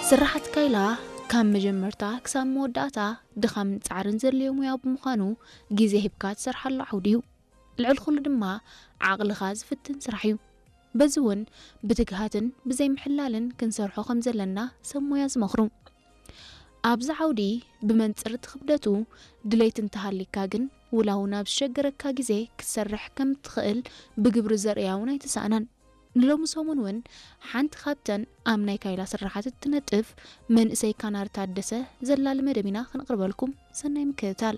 ስራሓት ካይላ ካብ መጀመርታ ክሳብ መወዳእታ ድኻምን ጻዕርን ዘድልዮ ሙያ ብምዃኑ፣ ግዜ ሂብካ ትሰርሓሉ ዓውዲ እዩ። ልዕሊ ኩሉ ድማ ዓቕልኻ ዝፍትን ስራሕ እዩ። በዚ እውን ብትግሃትን ብዘይምሕላልን ክንሰርሖ ከም ዘለና ሰብ ሞያ ዝመኽሩ። ኣብዚ ዓውዲ ብመንጽር እቲ ክብደቱ ድሌት እንተሃሊካ ግን ውላ እውን ኣብ ዝሸገረካ ግዜ ክትሰርሕ ከም እትኽእል ብግብሪ ዘርእያ እውን ኣይተሳእናን። ንሎሚ ሰሙን እውን ሓንቲ ካብተን ኣብ ናይ ካይላ ስራሓት እትነጥፍ መንእሰይ ካናር ታደሰ ዘላሊ መደብ ኢና ከነቕርበልኩም። ሰናይ ምክትታል።